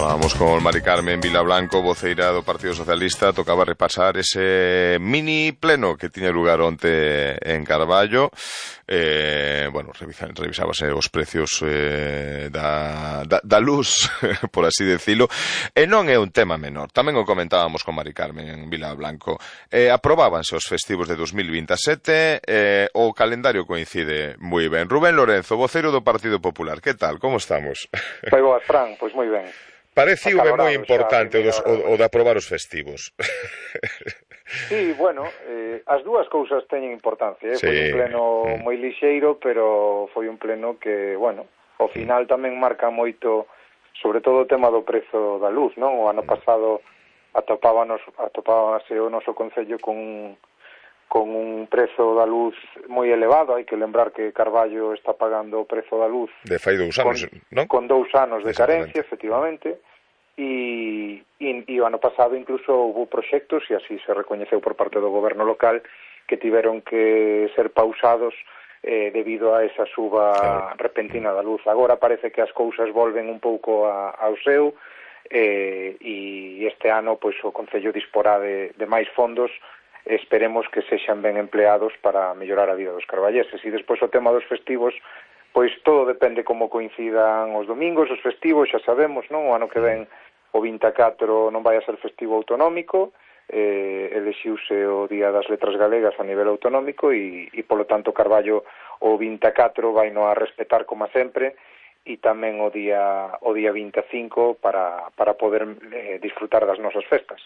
Falábamos con Mari Carmen Vilablanco, voceira do Partido Socialista. Tocaba repasar ese mini pleno que tiña lugar onte en Carballo. Revisábase os precios da luz, por así decilo, e non é un tema menor. Tamén o comentábamos con Mari Carmen Vilablanco. Aprobábanse os festivos de 2027, o calendario coincide moi ben. Rubén Lorenzo, voceiro do Partido Popular, que tal? Como estamos? Moi boas, Fran, pois moi ben. Pareceume moi importante o de aprobar os festivos. Sí, bueno, as dúas cousas teñen importancia, Sí. Foi un pleno moi lixeiro, pero foi un pleno que, bueno, ao final tamén marca moito, sobre todo o tema do prezo da luz, non? O ano pasado atopábase o noso concello con un prezo da luz moi elevado. Hai que lembrar que Carballo está pagando o prezo da luz de fai 2 anos, non? Con 2 anos de carencia, efectivamente, e o ano pasado incluso houve proxectos, e así se recoñeceu por parte do goberno local, que tiveron que ser pausados debido a esa suba repentina da luz. Agora parece que as cousas volven un pouco ao seu, e este ano pois o concello disporá de máis fondos. Esperemos que sexan ben empleados para mellorar a vida dos carballeses. E despois o tema dos festivos, pois todo depende como coincidan os domingos, os festivos, xa sabemos, non? O ano que ven o 24 non vai a ser festivo autonómico, elexiuse o Día das Letras Galegas a nivel autonómico e polo tanto Carballo o 24 vai no a respetar como sempre, e tamén o día 25 para poder disfrutar das nosas festas.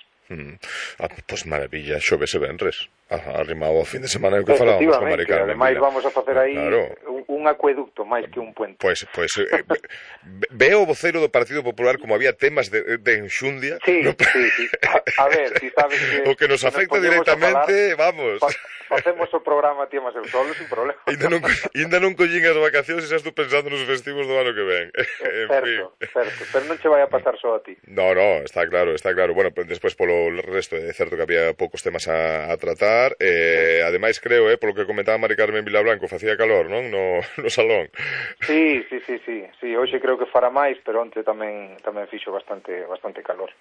Pois maravilla, xoves e venres. Arrimado ao fin de semana, o que falábamos con Mari Carmen. Ademais vamos a facer aí un acueducto máis que un puente. Pois veo o voceiro do Partido Popular como había temas de enxundia. Sí. A ver, si sabes que o que nos afecta directamente, vamos. Facemos o programa ti máis eu solo, sin problema. Ainda non collín as vacacións e xa estou pensando nos festivos do ano que ven. Certo, pero non che vai a pasar só a ti. No, está claro. Bueno, despois polo resto é certo que había poucos temas a tratar. Ademais creo, polo que comentaba Mari Carmen Vilablanco, facía calor, non? No salón. Sí, hoxe creo que fará máis, pero onte tamén fixo bastante calor.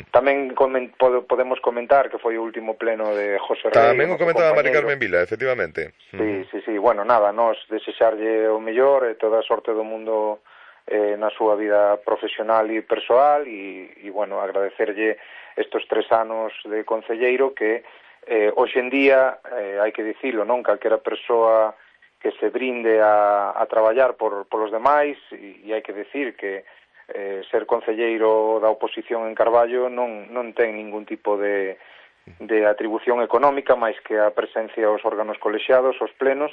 Tamén podemos comentar que foi o último pleno de José Rey. Tamén o comentaba Mari Carmen Vila, efectivamente. Sí, bueno, nada, nos desexarlle o mellor e toda a sorte do mundo na súa vida profesional e persoal, e bueno, agradecerlle estes 3 anos de concelleiro que hoxe en día, hai que dicilo, non? Calquera persoa que se brinde a traballar polos demais, e hai que dicir que ser concelleiro da oposición en Carballo non ten ningún tipo de atribución económica máis que a presencia aos órganos colexiados, aos plenos,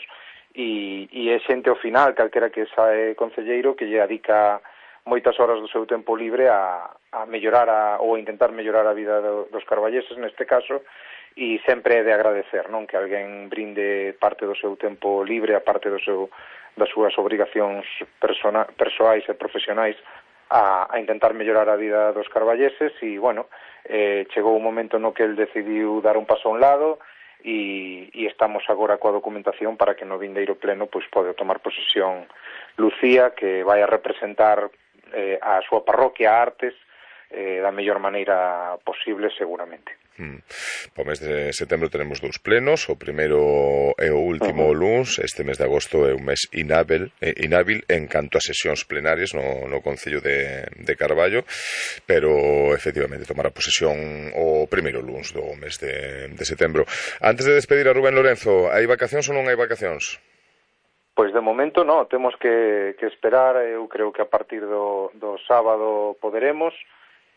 e é xente ao final, calquera que sae concelleiro, que lle adica moitas horas do seu tempo libre a mellorar ou a intentar mellorar a vida dos carballeses neste caso, e sempre é de agradecer, non? Que alguén brinde parte do seu tempo libre, a parte das súas obrigacións persoais e profesionais a intentar mellorar a vida dos carballeses. E, bueno, chegou un momento no que el decidiu dar un paso a un lado, e estamos agora coa documentación para que no vindeiro pleno pois pode tomar posesión Lucía, que vai a representar a súa parroquia, a Artes, da mellor maneira posible, seguramente. O mes de setembro tenemos 2 plenos. O primeiro e o último luns. Este mes de agosto é un mes inábil en canto a sesións plenarias no Concello de Carballo, pero efectivamente tomará posesión o primeiro luns do mes de setembro. Antes de despedir a Rubén Lorenzo, hai vacacións ou non hai vacacións? Pois de momento non, temos que esperar. Eu creo que a partir do sábado poderemos.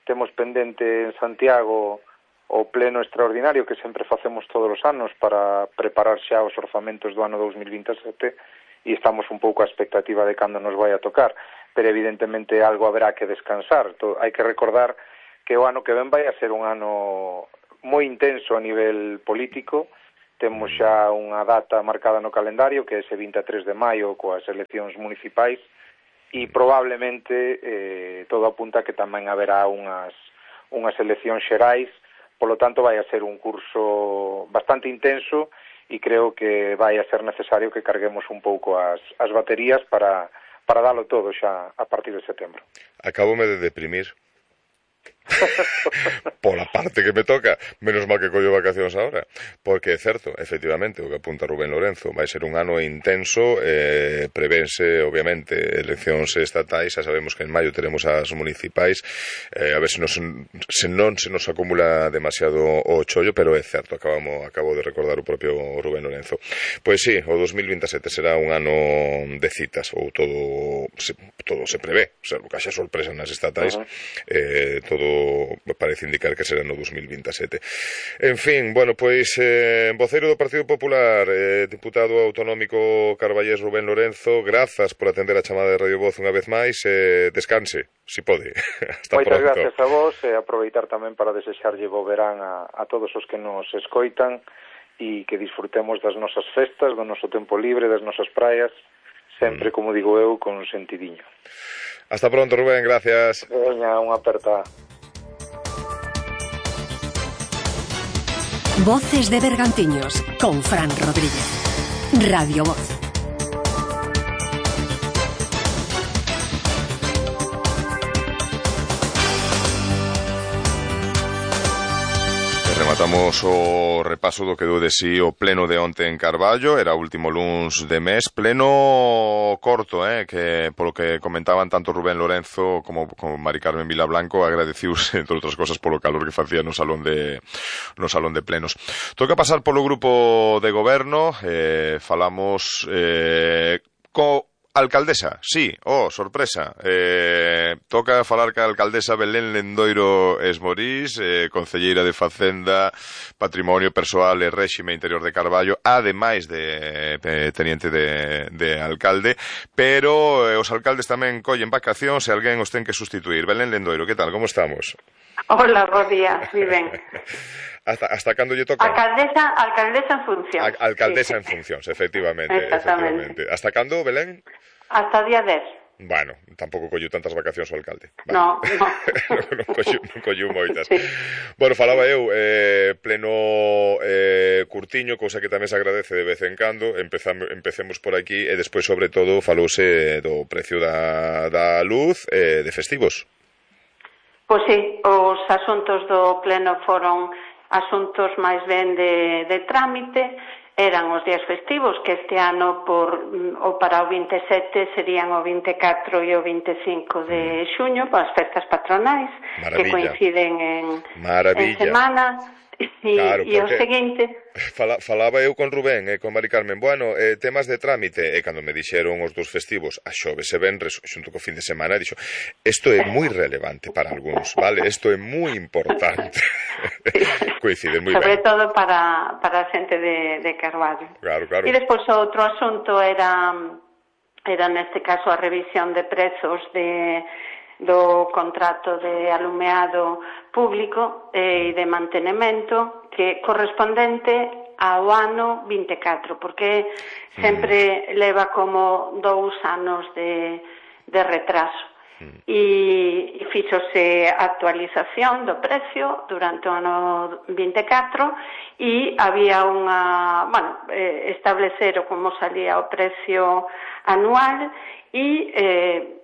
Temos pendente en Santiago o pleno extraordinario que sempre facemos todos os anos para preparar xa os orzamentos do ano 2027, e estamos un pouco a expectativa de cando nos vai a tocar, pero evidentemente algo haberá que descansar. Hai que recordar que o ano que ven vai a ser un ano moi intenso a nivel político. Temos xa unha data marcada no calendario, que é ese 23 de maio coas eleccións municipais, e probablemente todo apunta que tamén haberá unhas eleccións xerais. Polo tanto, vai a ser un curso bastante intenso, e creo que vai a ser necesario que carguemos un pouco as baterías para dalo todo xa a partir de setembro. Acabome de deprimir. Pola parte que me toca, menos mal que collo vacacións agora, porque é certo, efectivamente, o que apunta Rubén Lorenzo, vai ser un ano intenso, prevense, obviamente, eleccións estatais, xa sabemos que en maio teremos as municipais, a ver se non se nos acumula demasiado o chollo, pero é certo, acabo de recordar o propio Rubén Lorenzo. Pois sí, o 2027 será un ano de citas, ou todo se prevé, o sea, xa sorpresa nas estatais, todo parece indicar que será no 2027. En fin, bueno, pois voceiro do Partido Popular, diputado autonómico carballés Rubén Lorenzo, grazas por atender a chamada de Radio Voz unha vez máis, descanse, si pode. Hasta Moitas pronto. gracias a vos, e aproveitar tamén para desexarlle bo verán a todos os que nos escoitan, e que disfrutemos das nosas festas, do noso tempo libre, das nosas praias, sempre, como digo eu, con sentidiño. Hasta pronto, Rubén, gracias. Veña, unha aperta. Voces de Bergantiños, con Fran Rodríguez. Radio Voz. Rematamos o repaso do que deu de si o pleno de onte en Carballo, era o último luns de mes, pleno corto, que polo que comentaban tanto Rubén Lorenzo como Mari Carmen Vilablanco, agradeciuse, entre outras cosas, polo calor que facía no salón de plenos. Toca pasar polo grupo de goberno, falamos co alcaldesa, sí, sorpresa, toca falar ca alcaldesa Belén Lendoiro Esmorís, concelleira de Facenda, Patrimonio Persoal e Réxime Interior de Carballo, ademais de teniente de alcalde, pero os alcaldes tamén collen vacacións e alguén os ten que sustituir. Belén Lendoiro, que tal, como estamos? Hola, bo día, moi ben. Hasta cando lle toca? Alcaldesa en funcións. Alcaldesa en funcións, efectivamente. Hasta cando, Belén? Hasta día 10. Bueno, tampouco colleu tantas vacacións o alcalde. Vale. No. non colleu moitas. Sí. Bueno, falaba eu, pleno curtiño, cousa que tamén se agradece de vez en cando. Empecemos por aquí e despois, sobre todo, falouse do precio da luz de festivos. Pois sí, os asuntos do pleno foron asuntos máis ben de trámite, eran os días festivos, que este ano para o 27 serían o 24 e o 25 de xuño, as festas patronais, que coinciden en semana. Claro, e o seguinte... Falaba eu con Rubén e con Mari Carmen, bueno, temas de trámite, e cando me dixeron os dos festivos, a xoves e venres, xunto co fin de semana, dixo, isto é moi relevante para algúns, vale? Isto é moi importante. Coincide moi ben. Sobre todo para a xente de Carballo. Claro. E despois outro asunto era neste caso a revisión de prezos do contrato de alumeado público e de mantenimento que correspondente ao ano 24, porque sempre leva como 2 anos de retraso. E fíxose actualización do precio durante o ano 24 e había establecer como salía o precio anual e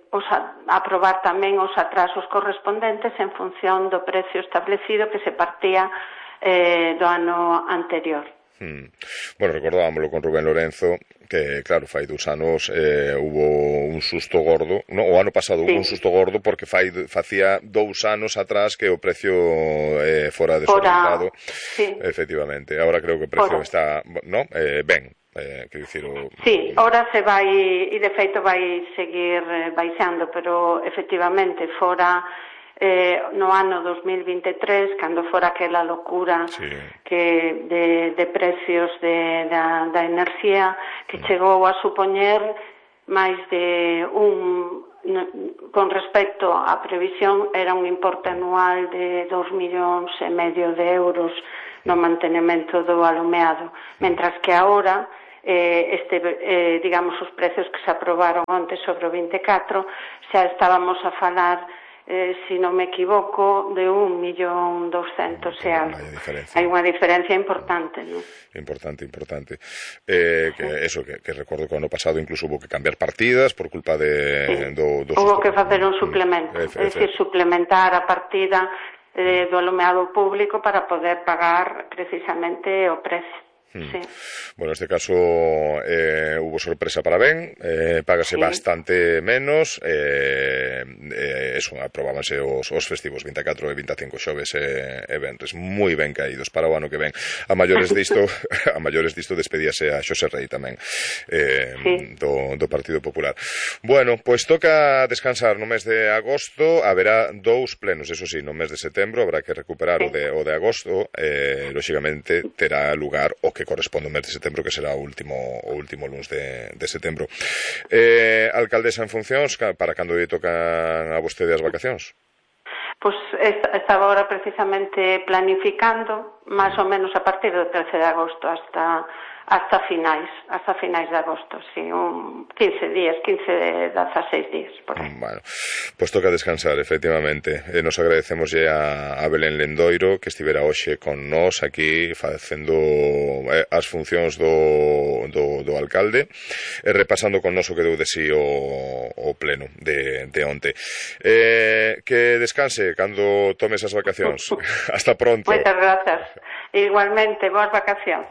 aprobar tamén os atrasos correspondentes en función do precio establecido que se partía do ano anterior. Bueno, recordábamoslo con Rubén Lorenzo, que claro, fai 2 anos hubo un susto gordo, o ano pasado hubo un susto gordo porque facía 2 anos atrás que o precio fora desorbitado, efectivamente. Ahora creo que o precio está, ben. Sí, ahora se vai, e de feito vai seguir baixando, pero efectivamente fora no ano 2023, cando fora aquela locura que de precios da enerxía, que chegou a supoñer máis de con respecto á previsión, era un importe anual de 2,5 millóns de euros no mantenimento do alumeado, mentras que agora digamos, os precios que se aprobaron onte sobre o 24, xa estábamos a falar, se non me equivoco, de 1,200,000 e algo. Hai unha diferencia importante, non? Importante. Que recordo que o ano pasado incluso hubo que cambiar partidas por culpa do hubo que facer un suplemento, é dicir, suplementar a partida do alumeado público para poder pagar precisamente o precio. Sí. Bueno, neste caso hubo sorpresa para ben, págase bastante menos, aprobábanse os festivos 24 e 25 xoves e venres moi ben caídos para o ano que ven. A maiores disto despedíase a Xosé Rei tamén, do Partido Popular. Bueno, pois toca descansar no mes de agosto, haberá 2 plenos, eso sí, no mes de setembro habrá que recuperar o de agosto, lóxicamente terá lugar o que corresponde ao mes de setembro, que será o último luns de setembro. Alcaldesa en funcións, para cando lle tocan a vostede as vacacións? Pois estaba ahora precisamente planificando máis ou menos a partir do 13 de agosto hasta finais de agosto, sí, 15 días, 16 días, por aí. Bueno, pois toca descansar, efectivamente. Nos agradecemos a Belén Lendoiro, que estivera hoxe con nós aquí facendo as funcións do alcalde, repasando con nós o que deu de sí o pleno de onte. Que descanse cando tomes as vacacións. Hasta pronto. Moitas grazas. Igualmente, boas vacacións.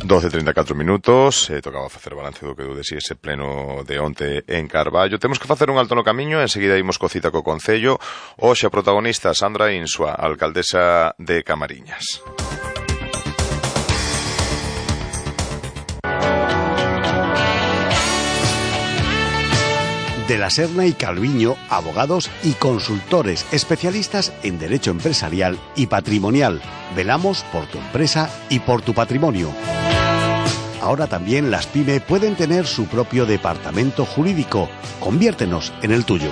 12:34 minutos, tocaba facer balance do que deu de si ese pleno de onte en Carballo. Temos que facer un alto no camiño, enseguida imos co cita co Concello. Hoxe a protagonista Sandra Insua, alcaldesa de Camariñas. De la Serna y Calviño, abogados y consultores especialistas en derecho empresarial y patrimonial. Velamos por tu empresa y por tu patrimonio. Ahora también las PYME pueden tener su propio departamento jurídico. Conviértenos en el tuyo.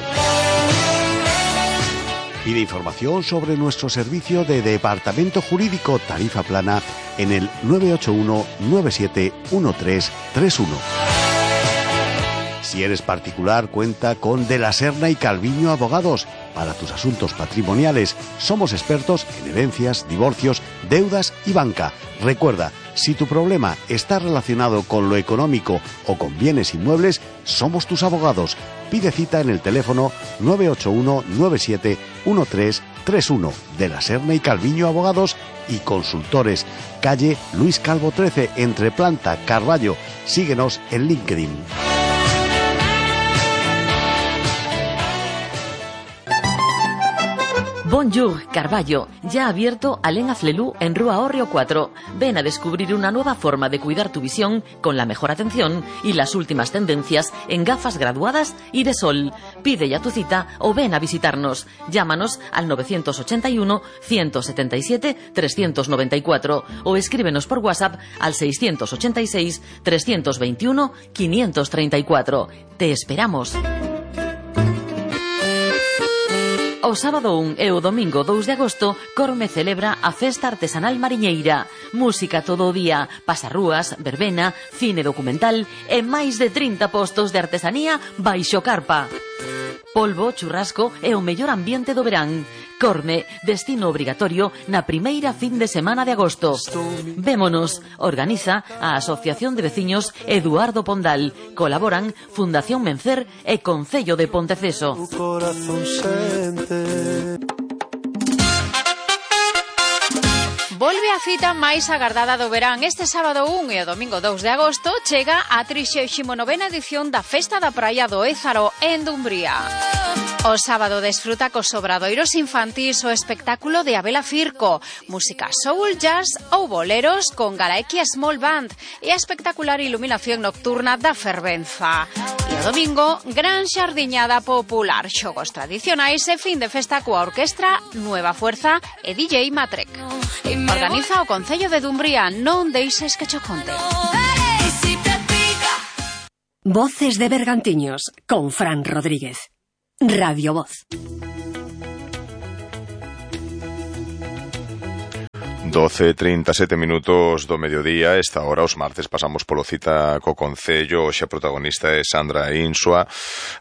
Pide información sobre nuestro servicio de departamento jurídico tarifa plana en el 981 97 1331. Si eres particular, cuenta con De la Serna y Calviño Abogados. Para tus asuntos patrimoniales, somos expertos en herencias, divorcios, deudas y banca. Recuerda, si tu problema está relacionado con lo económico o con bienes inmuebles, somos tus abogados. Pide cita en el teléfono 981 97 1331. De la Serna y Calviño Abogados y Consultores. Calle Luis Calvo 13, entre Planta, Carballo. Síguenos en LinkedIn. Bonjour, Carballo, ya abierto Alén Aflelú en Rúa Hórreo 4. Ven a descubrir una nueva forma de cuidar tu visión con la mejor atención y las últimas tendencias en gafas graduadas y de sol. Pide ya tu cita o ven a visitarnos. Llámanos al 981 177 394 o escríbenos por WhatsApp al 686 321 534. Te esperamos. O sábado 1 e o domingo 2 de agosto, Corme celebra a Festa Artesanal Mariñeira. Música todo o día, pasarrúas, verbena, cine documental e máis de 30 postos de artesanía baixo carpa. Polvo, churrasco e o mellor ambiente do verán. Corme, destino obrigatorio na primeira fin de semana de agosto. Vémonos, organiza a Asociación de Veciños Eduardo Pondal. Colaboran Fundación Mencer e Concello de Ponteceso. Volve a cita máis agardada do verán. Este sábado 1 e o domingo 2 de agosto chega a 39ª edición da Festa da Praia do Ézaro en Dumbría. O sábado desfruta cos obradoiros infantís o espectáculo de Abela Firco, música soul, jazz ou boleros con Galaequia Small Band e a espectacular iluminación nocturna da Fervenza. E o domingo, gran xardiñada popular, xogos tradicionais e fin de festa coa orquestra Nueva Fuerza e DJ Matrek. Organiza o Concello de Dumbría, non deixes que cho conte. Voces de Bergantiños, con Fran Rodríguez. Radio Voz. 12:37 minutos do mediodía. Esta hora, os martes, pasamos polo cita co Concello. Hoxe a protagonista é Sandra Insua,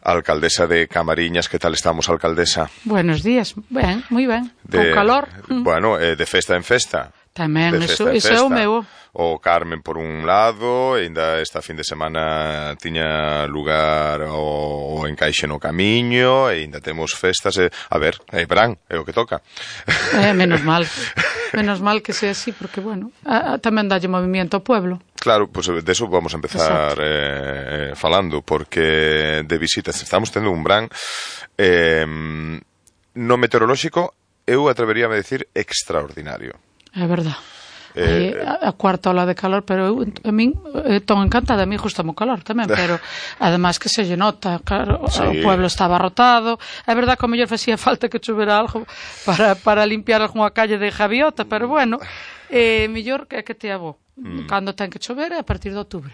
alcaldesa de Camariñas. Que tal estamos, alcaldesa? Buenos días. Ben, moi ben. Con calor. Bueno, de festa en festa. Tamén, iso é o meu. O Carmen por un lado, e ainda esta fin de semana tiña lugar o encaixe no camiño, e ainda temos festas, a ver, verán, é o que toca. Menos mal que sea así, porque, bueno, tamén dalle movimiento ao pueblo. Claro, pues de eso vamos a empezar falando, porque de visitas estamos tendo un verán no meteorolóxico, eu atreveríame a decir extraordinario. É verdad. A cuarta ola de calor, pero a min estou encantada, a mí gustame o calor tamén, pero ademais que se lle nota, claro, sí. O pueblo está abarrotado. É verdad que ao mellor facía falta que chovera algo para limpiar algunha calle de Javiota, pero bueno, mellor que te abo. Cando ten que chover é a partir de outubro.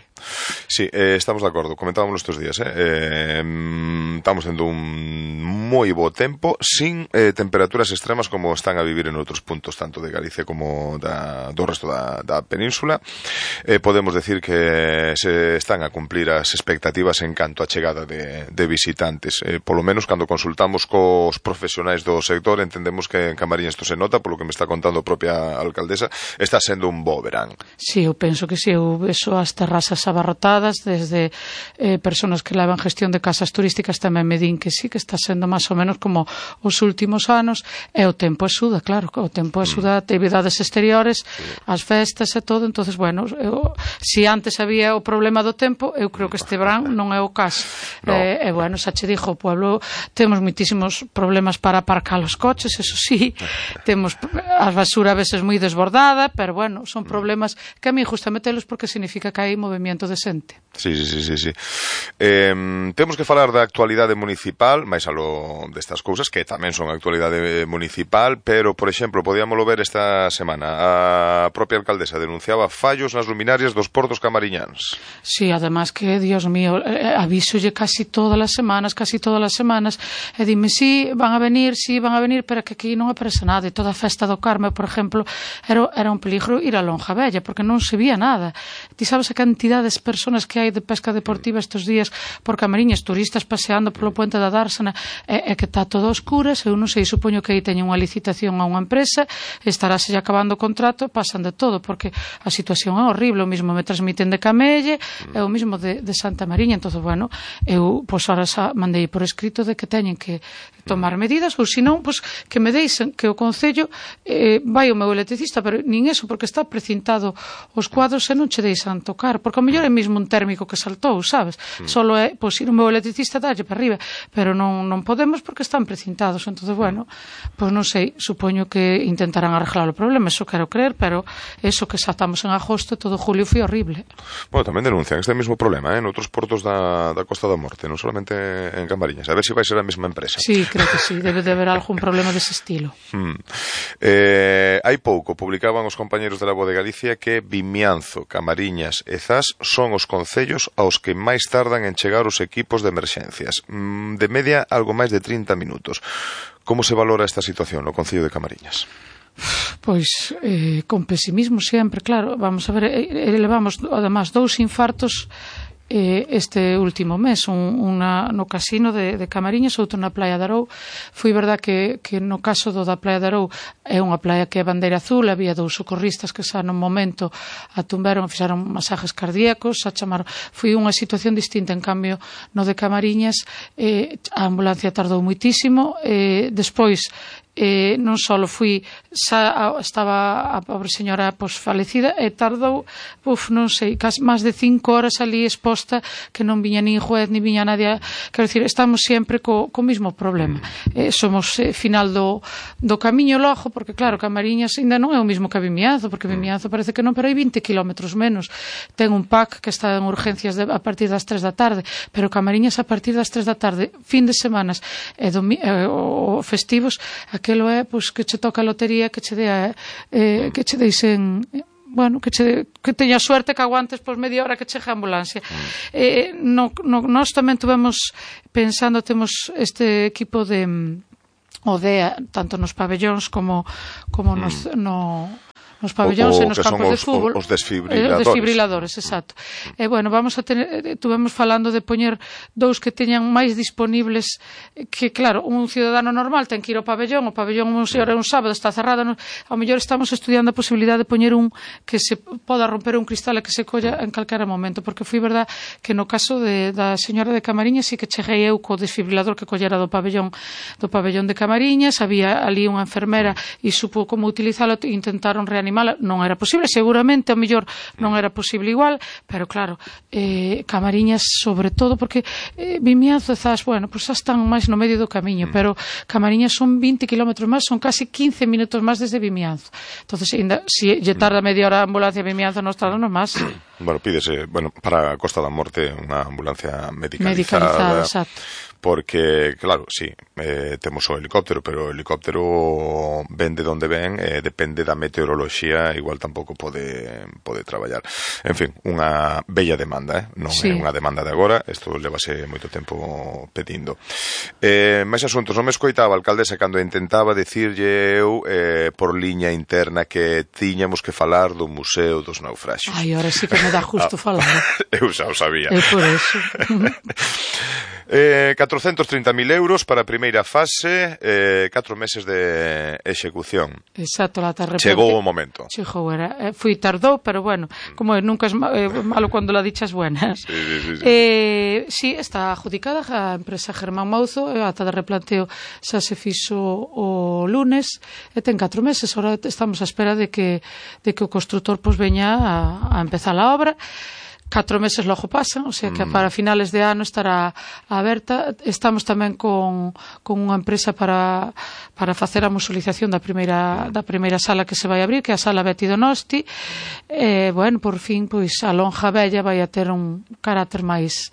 Sí, estamos de acordo, comentábamos estes días, estamos tendo un moi bo tempo, sin temperaturas extremas como están a vivir en outros puntos, tanto de Galicia como do resto da península. Podemos decir que se están a cumplir as expectativas en canto a chegada de visitantes, polo menos cando consultamos cos profesionais do sector entendemos que en Camariñas isto se nota, polo que me está contando a propia alcaldesa, está sendo un bo verán. Sí, eu penso que si, eu vexo as terrazas abarrotadas, desde personas que levan gestión de casas turísticas tamén me din que sí, que está sendo máis ou menos como os últimos anos, e o tempo axuda, claro, o tempo axuda, actividades exteriores, as festas e todo, entonces, bueno, si antes había o problema do tempo, eu creo que este verán non é o caso. No. E bueno, xa che dixo, o pueblo temos moitísimos problemas para aparcar os coches, eso sí, temos a basura a veces moi desbordada, pero bueno, son problemas que a mí gusta metelos porque significa que hai movimento de xente. Sí. Temos que falar da actualidade municipal, máis aló destas cousas, que tamén son actualidade municipal, pero, por exemplo, podíamoslo ver esta semana. A propia alcaldesa denunciaba fallos nas luminarias dos portos camariñáns. Sí, además que, Dios mío, avísolle casi todas as semanas, e dime, sí, van a venir, pero que aquí non aparece nada. E toda a festa do Carme, por exemplo, era un peligro ir a Lonja Bella, porque non se vía nada. Ti sabes a cantidad de personas que hai de pesca deportiva estes días por Camariñas, turistas paseando polo puente da Dársena, e que está todo a oscuras. Eu non sei, supoño que aí teñen unha licitación a unha empresa, estarase acabando o contrato, pasan de todo, porque a situación é horrible. O mismo me transmiten de Camelle, é o mismo de Santa Mariña. Entón, bueno, eu, pois, ahora xa mandei por escrito de que teñen que tomar medidas, ou senón, pois, que me deixen que o Concello vai o meu electricista, pero nin eso, porque está precintado os cuadros e non che deixan tocar, porque ao mellor é mesmo un térmico que saltou, sabes? Solo é, pois, ir o meu electricista dalle para arriba, pero non podemos porque están precintados. Entón, bueno, pois non sei, supoño que intentarán arreglar o problema, eso quero creer, pero eso que xa estamos en agosto, todo julio foi horrible. Bueno, tamén denuncian este mesmo problema, en outros portos da Costa da Morte, non solamente en Camariñas, a ver se vai ser a mesma empresa. Sí, creo que sí, debe de haber algún problema dese estilo. Hai pouco publicaban os compañeros de La Voz de Galicia que Vimianzo, Camariñas e Zas son os concellos aos que máis tardan en chegar os equipos de emerxencias. De media, algo máis de 30 minutos. Como se valora esta situación no Concello de Camariñas? Pois, con pesimismo sempre, claro. Vamos a ver, levamos, además, 2 infartos este último mes, unha no casino de Camariñas, outro na Playa de Arou. Foi verdad que no caso da Playa de Arou é unha playa que é bandeira azul, había 2 socorristas que xa no momento atumberon, fixeron masajes cardíacos, foi unha situación distinta. En cambio, no de Camariñas a ambulancia tardou moitísimo, despois non só estaba a pobre señora falecida e tardou, non sei, máis de 5 horas ali exposta, que non viña nin juez, nin viña nadie. Quero dicir, estamos sempre co mesmo problema. Somos final do camiño logo, porque claro, Camariñas ainda non é o mismo que Vimianzo, porque Vimianzo parece que non, pero hai 20 kilómetros menos. Ten un PAC que está en urgencias a partir das 3 da tarde, pero Camariñas a partir das 3 da tarde, fin de semanas e festivos, aquelo é, pois, que che toca a lotería, que che deixen, bueno, que teña suerte, que aguantes pois media hora que chegue a ambulancia. Nós tamén tuvemos pensando, temos este equipo de ODEA, tanto nos pabellóns como no nos pabellóns e nos campos de fútbol. Os desfibriladores. Os desfibriladores, exacto. E, bueno, tuvemos falando de poñer dous que teñan máis disponibles, que, claro, un ciudadano normal ten que ir ao pabellón, o pabellón un sábado está cerrado, ao mellor estamos estudiando a posibilidade de poñer un que se poda romper un cristal e que se colla en calquera momento, porque foi verdad que no caso da señora de Camariñas sí que cheguei eu co desfibrilador que collera do pabellón de Camariñas, había ali unha enfermera e supo como utilizalo, intentaron reanimala, non era posible, seguramente ao mellor non era posible igual, pero claro, Camariñas sobre todo, porque Vimianzo estás, bueno, pues xa están máis no medio do camiño, pero Camariñas son 20 kilómetros máis, son casi 15 minutos máis desde Vimianzo. Entonces, se lle tarda media hora a ambulancia a Vimianzo, nos tardan máis. Bueno, pídese, para a Costa da Morte unha ambulancia medicalizada, exacto. Porque, claro, sí, temos o helicóptero, pero o helicóptero ven de onde ven, depende da meteoroloxía, igual tampouco pode traballar. En fin, unha bella demanda, non é unha demanda de agora, isto levase moito tempo pedindo. Mais asuntos, non me escoitaba a alcaldesa cando intentaba dicirlle eu por liña interna que tiñamos que falar do Museo dos Naufraxios. Ai, ahora sí que me dá justo falar. Eu xa o sabía. É por eso. 430.000 euros para a primeira fase, 4 meses de execución. Exacto, chegou o momento. Chegou, tardou, pero bueno, como nunca é malo cando la dichas buenas. Sí, está adjudicada a empresa Germán Mouzo, a ata de replanteo xa se fixo o lunes, e ten 4 meses, ahora estamos á espera de que o constructor veña a empezar a obra. 4 meses logo pasan, o sea que para finales de ano estará aberta. Estamos tamén con unha empresa para facer a musulización da primeira sala que se vai abrir, que é a sala Betty Donosti. Bueno, por fin, pois a lonja bella vai a ter un carácter máis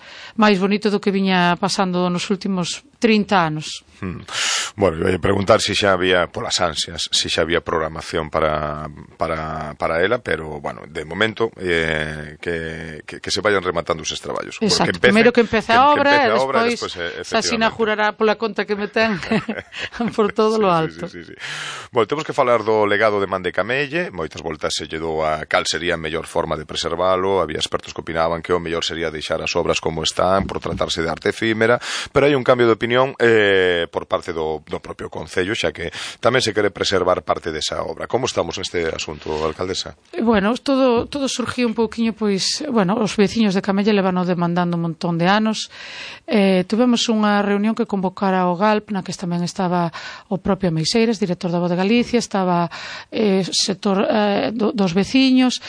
bonito do que viña pasando nos últimos 30 anos. Bueno, eu ia preguntar se xa había, polas ansias, se xa había programación para ela, pero, bueno, de momento que se vayan rematando esos traballos. Exacto, primeiro que empece a obra e despois xa se inaugurará pola conta que me ten por todo lo alto. Sí. Bueno, temos que falar do legado de Man de Camelle. Moitas voltas se lle dou a cal sería a mellor forma de preservalo. Había expertos que opinaban que o mellor sería deixar as obras como están por tratarse de arte efímera, pero hai un cambio de opinión por parte do propio Concello, xa que tamén se quere preservar parte desa obra. Como estamos neste asunto, alcaldesa? Bueno, todo surgiu un pouquiño, pois, bueno, os veciños de Camelle levano demandando un montón de anos. Tuvemos unha reunión que convocara o GALP, na que tamén estaba o propio Meixeiras, director da Voz de Galicia, estaba sector dos veciños.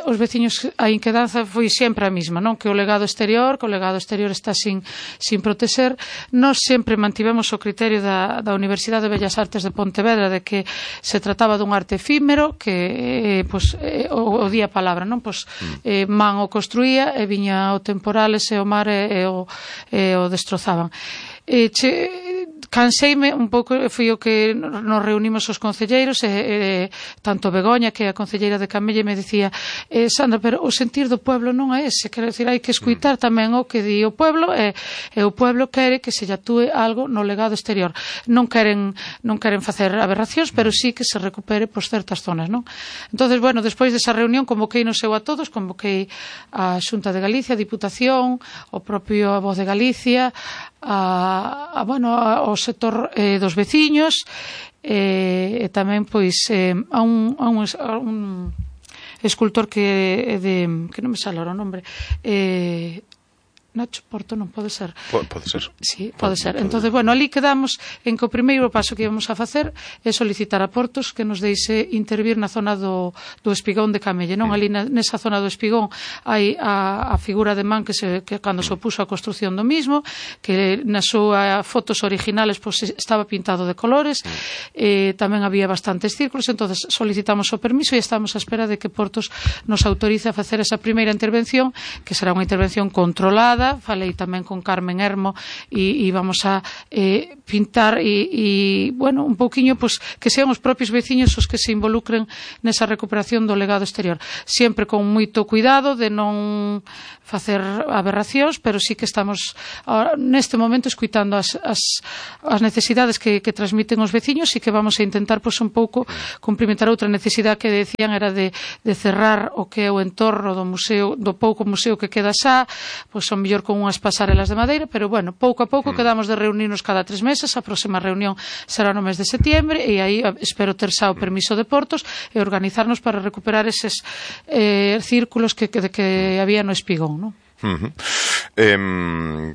Os veciños, a inquedanza foi sempre a mesma, non? Que o legado exterior está sin protexer. Nós sempre mantivemos o criterio da Universidade de Bellas Artes de Pontevedra de que se trataba dun arte efímero que o día palabra, non? Man o construía e viña o temporales e o mar e o destrozaban. Canseime un pouco, foi o que nos reunimos os concelleiros tanto Begoña, que é a concelleira de Camelle, me dicía, Sandra, pero o sentir do pueblo non é ese, quero dicir, hai que escuitar tamén o que di o pueblo, e o pueblo quere que se lle atúe algo no legado exterior. Non queren facer aberracións, pero sí que se recupere por certas zonas, non? Entonces, bueno, despois desa reunión convoquei no seu a todos, convoquei a Xunta de Galicia, a Diputación, o propio a Voz de Galicia, ao sector dos veciños, e tamén pois a un escultor que non me sale o nome, Nacho Porto, non pode ser? Pode ser. Sí, pode ser. Entonces, bueno, ali quedamos en que o primeiro paso que íbamos a facer é solicitar a Portos que nos deixe intervir na zona do espigón de Camelle, non? Ali nesa zona do espigón hai a figura de man que cando se opuso a construción do mismo, que nas súas fotos originales estaba pintado de colores, tamén había bastantes círculos, entonces solicitamos o permiso e estamos a espera de que Portos nos autorice a facer esa primeira intervención, que será unha intervención controlada, pasada falei tamén con Carmen Hermo e vamos a pintar e bueno, un pouquiño pues, que sean os propios veciños os que se involucren nesa recuperación do legado exterior, sempre con moito cuidado de non facer aberracións, pero sí que estamos neste momento escuitando as necesidades que transmiten os veciños e que vamos a intentar pues, un pouco cumprimentar outra necesidade que decían era de cerrar o que é o entorno do museo, do pouco museo que queda xa, pois son mellor con unhas pasarelas de madeira, pero bueno, pouco a pouco quedamos de reunirnos cada 3 meses, a próxima reunión será no mes de setembro e aí espero ter xa o permiso de Portos e organizarnos para recuperar eses círculos que había no Espigón, non?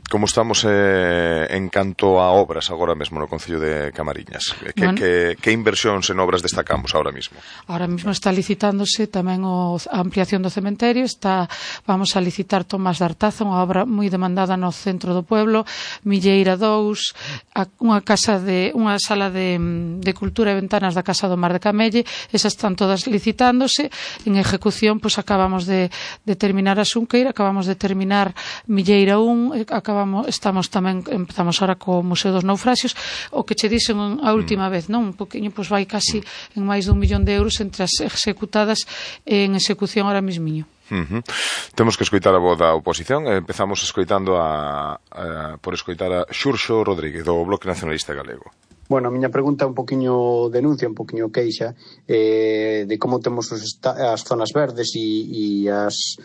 Como estamos en canto a obras agora mesmo no Concello de Camariñas? Que inversións en obras destacamos ahora mismo? Ahora mismo está licitándose tamén a ampliación do cementerio, vamos a licitar Tomás de Artaza, unha obra moi demandada no centro do pueblo, Milleira 2, unha sala de cultura e ventanas da Casa do Mar de Camelle, esas están todas licitándose. En ejecución, pois acabamos de terminar a Xunqueira, acabamos de terminar Milleira 1, empezamos ahora co Museo dos Naufraxios, o que che dixen a última vez, non? Un poquinho, pois vai casi en máis de 1 millón de euros entre as executadas en execución ahora mismiño. Temos que escoitar a voz da oposición. Empezamos escoitando por escoitar a Xurxo Rodríguez do Bloque Nacionalista Galego. Bueno, a miña pregunta é un poquinho denuncia, un poquinho queixa de como temos as zonas verdes e as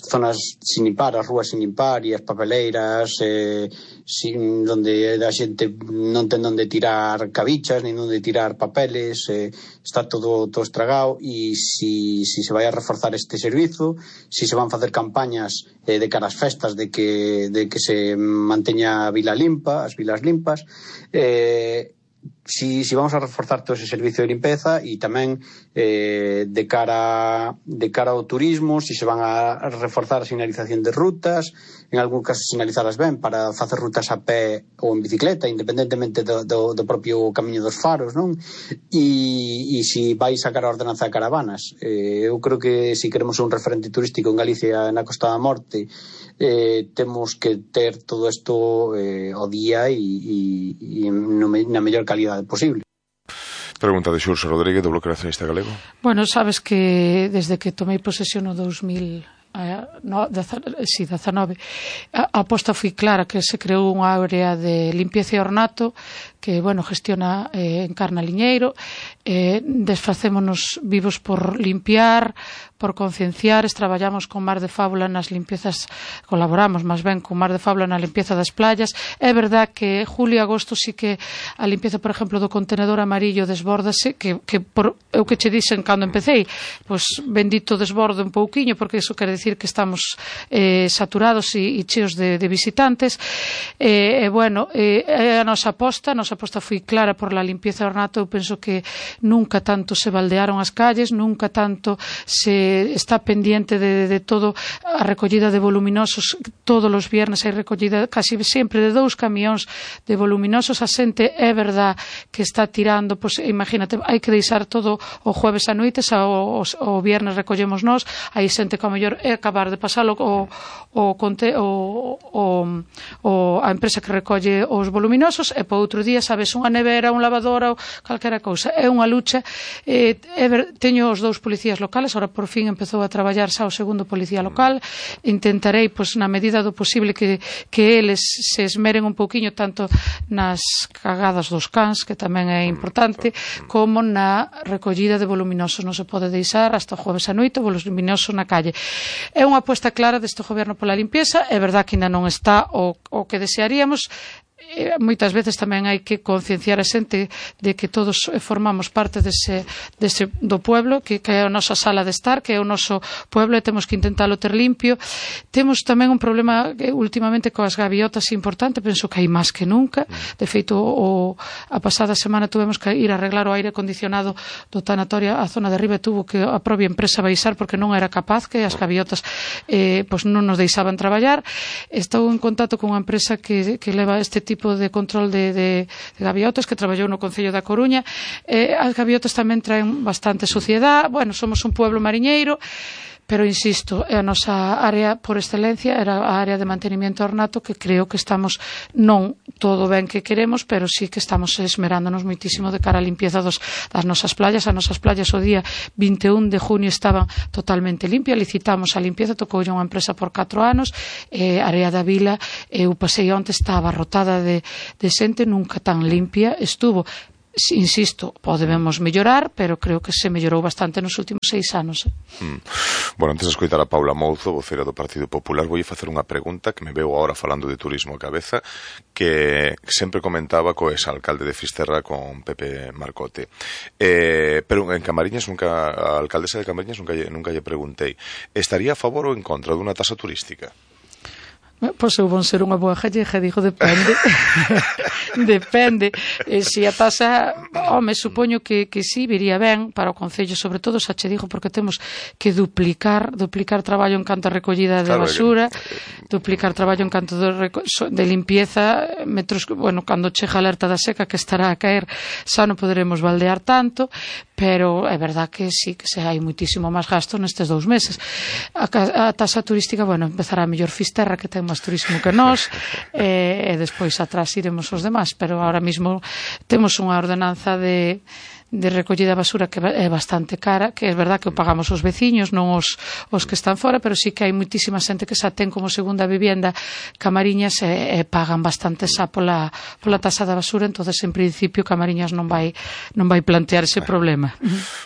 zonas sin limpar, as rúas sin limpar e as papeleiras donde a xente non ten onde tirar cabichas nin onde tirar papeles, está todo estragado, e si se vai a reforzar este servizo, si se van facer campañas de cara ás festas de que se manteña a vila limpa, as vilas limpas, si vamos a reforzar todo ese servicio de limpeza e tamén de cara ao turismo, si se van a reforzar a sinalización de rutas, en algún caso sinalizalas ben para facer rutas a pé ou en bicicleta, independentemente do propio camiño dos faros, non? E si vai sacar a ordenanza de caravanas. Eu creo que se queremos un referente turístico en Galicia na Costa da Morte, temos que ter todo isto ao día e na mellor calidade posible. Pregunta de Xurxo Rodríguez do Bloque Nacionalista Galego. Bueno, sabes que desde que tomei posesión no 2019 a aposta foi clara, que se creou unha área de limpieza e ornato que, bueno, gestiona Encarna Liñeiro. Desfacémonos vivos por limpiar, por concienciar, traballamos con Mar de Fábula nas limpiezas, colaboramos máis ben con Mar de Fábula na limpieza das playas. É verdad que julio e agosto sí que a limpieza, por exemplo, do contenedor amarillo desbórdase, que eu que che dixen cando empecéi, pois bendito desborde un pouquiño, porque iso quere decir que estamos saturados e cheos de visitantes. Bueno, a nosa aposta foi clara por la limpieza e ornato. Eu penso que nunca tanto se baldearon as calles, nunca tanto se está pendiente de todo a recollida de voluminosos. Todos os viernes hai recollida casi sempre de 2 camións de voluminosos. A xente é verdad que está tirando, pois imagínate, hai que deixar todo o jueves a noites, o viernes recollemos nós, hai xente que ao mellor é acabar de pasalo a empresa que recolle os voluminosos, e por outro día, sabes, unha nevera, un lavadora ou calquera cousa. É unha lucha. Teño os 2 policías locales, ahora por fin empezou a traballar xa o segundo policía local. Intentarei, pois, na medida do posible que eles se esmeren un pouquiño tanto nas cagadas dos cans, que tamén é importante, como na recollida de voluminosos. Non se pode deixar hasta o jueves a noite o voluminoso na calle. É unha aposta clara deste goberno pola limpieza. É verdad que ainda non está o que desearíamos. Moitas veces tamén hai que concienciar a xente de que todos formamos parte do pueblo, que é a nosa sala de estar, que é o noso pueblo, e temos que intentalo ter limpio. Temos tamén un problema últimamente coas gaviotas importante, penso que hai máis que nunca. De feito, a pasada semana tuvemos que ir a arreglar o aire acondicionado do tanatorio, a zona de arriba tuvo que a propia empresa baixar porque non era capaz, que as gaviotas pois non nos deixaban traballar. Estou en contacto con unha empresa que leva este tipo de control de gaviotas, que traballou no Concello da Coruña. As gaviotas tamén traen bastante suciedade. Bueno, somos un pueblo mariñeiro, pero insisto, a nosa área por excelencia era a área de mantenimiento ornato, que creo que estamos non todo ben que queremos, pero sí que estamos esmerándonos moitísimo de cara á limpieza das nosas playas. As nosas playas o día 21 de junio estaban totalmente limpias, licitamos a limpieza, tocoulle unha empresa por 4 anos, a área da vila, eu pasei onte, estaba rotada de xente, nunca tan limpia estuvo. Insisto, podemos mellorar, pero creo que se mellorou bastante nos últimos 6 anos. Bueno, antes de escoitar a Paula Mouzo, vocera do Partido Popular, voulle facer unha pregunta que me veo agora falando de turismo a cabeza, que sempre comentaba co exalcalde de Fisterra, con Pepe Marcote. Pero en Camariñas, a alcaldesa de Camariñas nunca lle preguntei, estaría a favor ou en contra dunha tasa turística? Pois eu vou ser unha boa gallega, digo, depende. Depende. Se a tasa, supoño que sí, viría ben para o Concello, sobre todo, xa che digo, porque temos que duplicar traballo en canto a recollida de basura, duplicar traballo en canto de limpieza, cando chega a alerta da seca, que estará a caer, xa non poderemos baldear tanto, pero é verdad que sí, que se hai muitísimo máis gasto nestes 2 meses. A tasa turística, empezará a mellor Fisterra, que ten máis turismo que nós, e despois atrás iremos os demás, pero ahora mismo temos unha ordenanza de recollida de basura que é bastante cara, que é verdad que o pagamos os veciños, non os que están fora, pero sí que hai muitísima xente que xa ten como segunda vivienda Camariñas e pagan bastante xa pola tasa da basura, entonces en principio Camariñas non vai plantear ese problema.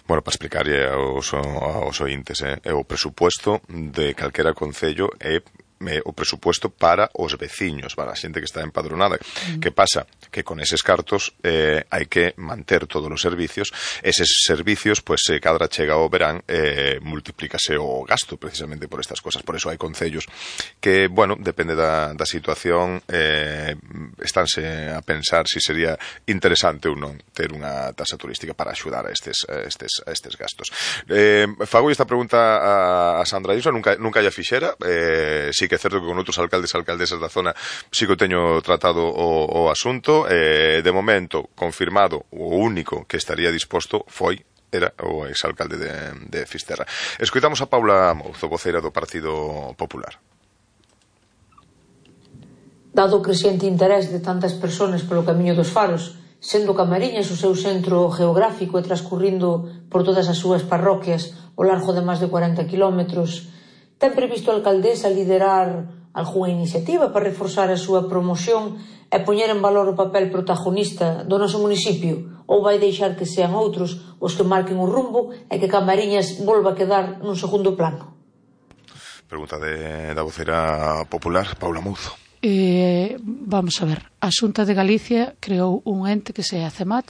Bueno, para explicarlle aos ointes, o presupuesto de calquera concello é o presupuesto para os veciños, para a xente que está empadronada. Que pasa? Que con eses cartos hai que manter todos os servicios. Eses servicios, cada chega ao verán, multiplícase o gasto precisamente por estas cosas. Por eso hai concellos que, depende da situación, estánse a pensar si sería interesante ou non ter unha tasa turística para axudar a estes gastos. Fago esta pregunta a Sandra Isla, nunca lla fixera, sí que é certo que con outros alcaldes e alcaldesas da zona sí que teño tratado o asunto. De momento, confirmado, o único que estaría disposto era o exalcalde de Fisterra. Escoitamos a Paula Mouzo, voceira do Partido Popular. Dado o crecente interés de tantas persoas polo Camiño dos Faros, sendo Camariñas o seu centro geográfico e transcurrindo por todas as súas parroquias ao largo de máis de 40 kilómetros, ten previsto a alcaldesa liderar algunha iniciativa para reforzar a súa promoción e poñer en valor o papel protagonista do noso municipio, ou vai deixar que sean outros os que marquen o rumbo e que Camariñas volva a quedar nun segundo plano? Pregunta da vocera popular, Paula Mouzo. Vamos a ver, a Xunta de Galicia creou un ente que se a CEMAT,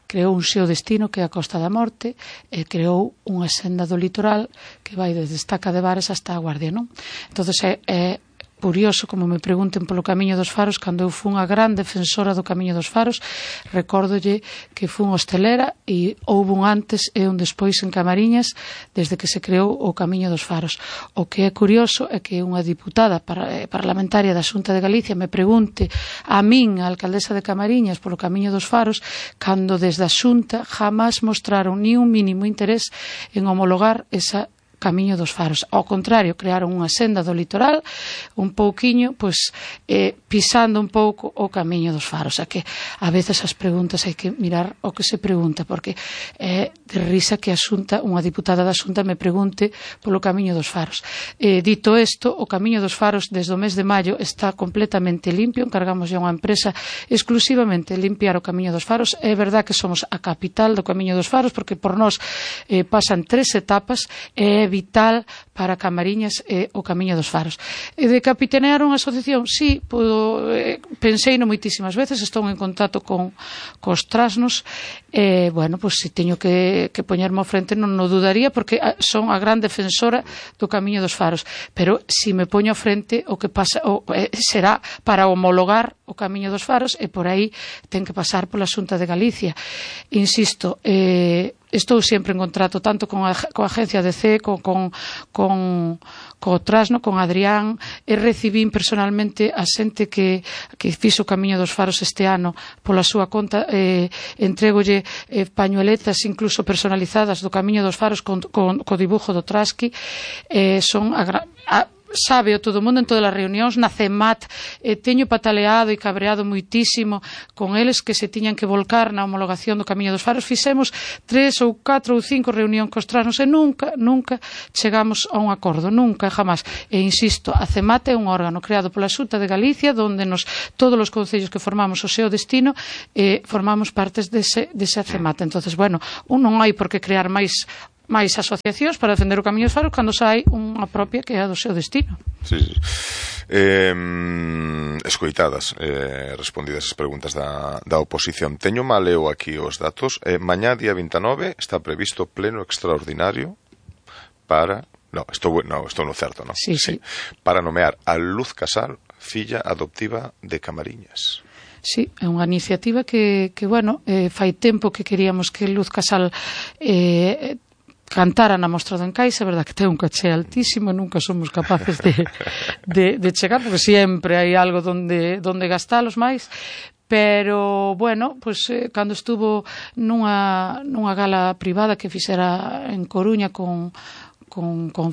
creou un xeo destino que é a Costa da Morte, e creou unha senda do litoral que vai desde Estaca de Bares hasta a Guardia, non? Entonces é curioso, como me pregunten polo Camiño dos Faros, cando eu fui unha gran defensora do Camiño dos Faros, recórdolle que fui hostelera e houve un antes e un despois en Camariñas desde que se creou o Camiño dos Faros. O que é curioso é que unha diputada parlamentaria da Xunta de Galicia me pregunte a min, a alcaldesa de Camariñas, polo Camiño dos Faros, cando desde a Xunta jamás mostraron ni un mínimo interés en homologar esa Camiño dos Faros. Ao contrario, crearon unha senda do litoral un pouquiño, pisando un pouco o Camiño dos Faros. Que a veces as preguntas hai que mirar o que se pregunta, porque é de risa que unha diputada da Xunta me pregunte polo Camiño dos Faros. Dito isto, o Camiño dos Faros desde o mes de maio está completamente limpio, encargamos a unha empresa exclusivamente limpiar o Camiño dos Faros. É verdad que somos a capital do Camiño dos Faros, porque por nós pasan 3 etapas e é vital para Camariñas o Camiño dos Faros. De capitanear unha asociación, sí, pensei no moitísimas veces, estou en contacto cos trasnos, se teño que poñerme ao frente non o dudaría, porque son a gran defensora do Camiño dos Faros, pero si me poño ao frente o que pasa será para homologar o Camiño dos Faros, e por aí ten que pasar pola Xunta de Galicia. Insisto, estou sempre en contrato tanto con a agencia DC con Trasno, con Adrián, e recibín personalmente a xente que fixo o Camiño dos Faros este ano pola súa conta, entregolle pañueletas incluso personalizadas do Camiño dos Faros co dibujo do Trasqui, son sabe o todo o mundo en todas as reunións na CEMAT, teño pataleado e cabreado moitísimo con eles que se tiñan que volcar na homologación do Camiño dos Faros. Fixemos 3 ou 4 ou 5 reunións cos Trasnos e nunca chegamos a un acordo, nunca, jamás. E insisto, a CEMAT é un órgano creado pola Xunta de Galicia onde todos os concellos que formamos o seu destino formamos partes dese CEMAT. Entonces, bueno, non hai por que crear máis asociacións para defender o Camiño dos Faros cando sai unha propia que é a do seu destino. Sí. Escoitadas, respondidas as preguntas da oposición. Teño mal eu aquí os datos. Mañá, día 29, está previsto pleno extraordinario para... No, estou no certo, non? Sí. Para nomear a Luz Casal, filla adoptiva de Camariñas. Sí, é unha iniciativa que fai tempo que queríamos que Luz Casal cantara na Mostra do Encaixe. É verdad que ten un caché altísimo, nunca somos capaces de chegar, porque sempre hai algo donde gastalos máis, pero, bueno, pues, cando estuvo nunha gala privada que fixera en Coruña con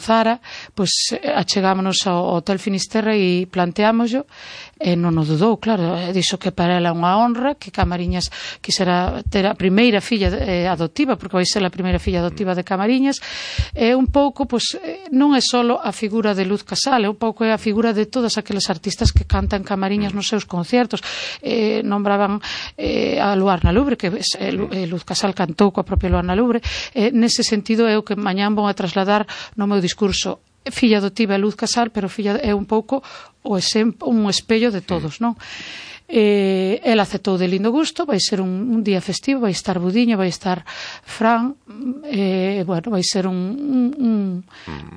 Zara, pues achegámonos ao Hotel Finisterra e planteámoslo, e non o dudou, claro, dixo que para ela é unha honra que Camariñas quisera ter a primeira filla adoptiva, porque vai ser a primeira filla adoptiva de Camariñas. Un pouco, pues, non é só a figura de Luz Casal, un pouco é a figura de todas aqueles artistas que cantan Camariñas nos seus concertos. Nombraban a Luarna Lubre, que Luz Casal cantou coa propia Luarna Lubre. Nese sentido é o que mañán vou a trasladar no meu discurso. Filla adoptiva é Luz Casal, pero filla é un pouco un espello de todos, non? Ela aceptou de lindo gusto, vai ser un día festivo, vai estar Budiño, vai estar Fran, vai ser un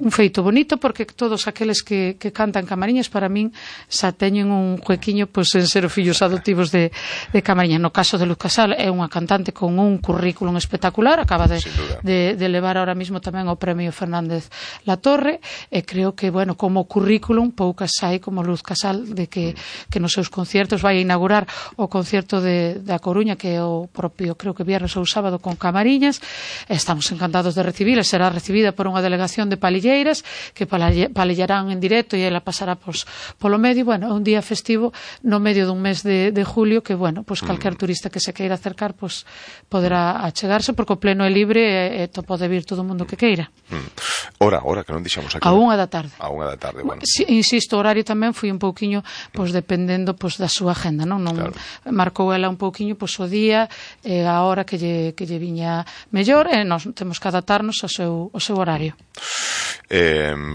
feito bonito, porque todos aqueles que cantan Camariñas para min xa teñen un juequiño en ser os fillos adoptivos de Camariñas. No caso de Luz Casal é unha cantante con un currículum espectacular, acaba de levar ahora mismo tamén o premio Fernández Latorre, e creo que, como currículum poucas hai como Luz Casal, de que nos seus conciertos vai inaugurar o concerto da Coruña, que é o propio, creo que viernes ou sábado, con Camariñas. Estamos encantados de recibila. Será recibida por unha delegación de palilleiras que palillarán en directo e ela pasará polo medio. É un día festivo no medio dun mes de julio que, calquer turista que se queira acercar poderá achegarse, porque o pleno é libre e pode vir todo o mundo que queira. Hora, que non dixamos aquí. A 1 da tarde. A 1 da tarde, bueno. Insisto, o horario tamén foi un pouquiño dependendo da súa agenda. Non claro. Marcou ela un pouquiño o día e a hora que lle viña mellor, e nós temos que adaptarnos ao seu horario.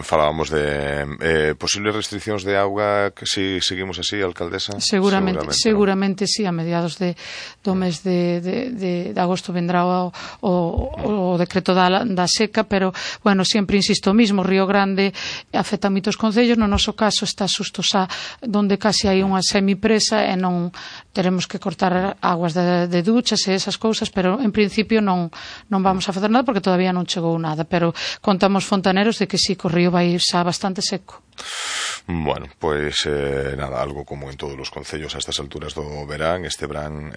Falábamos de posibles restriccións de auga, que si seguimos así, alcaldesa? Seguramente sí, a mediados do mes de agosto vendrá o decreto da seca, pero, sempre insisto o mismo, Río Grande afecta moitos concellos, no noso caso está xusto xa donde casi hai unha semipresa e non teremos que cortar aguas de duchas e esas cousas, pero en principio non vamos a facer nada porque todavía non chegou nada, pero contamos fontaneros de que sí, que o río vai xa bastante seco. Bueno, nada, algo como en todos os concellos a estas alturas do verán. Este verán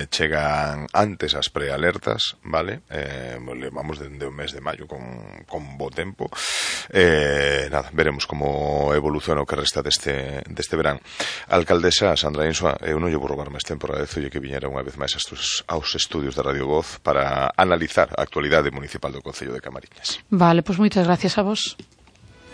chegan antes as prealertas, vale? Levamos dende o mes de maio con bo tempo. Nada, veremos como evoluciona o que resta deste verán. Alcaldesa Sandra Insua, eu non lle vou robar máis tempo, agradezolle que viñera unha vez máis aos estudios de Radio Voz para analizar a actualidade municipal do Concello de Camariñas. Vale, pois moitas gracias a vos.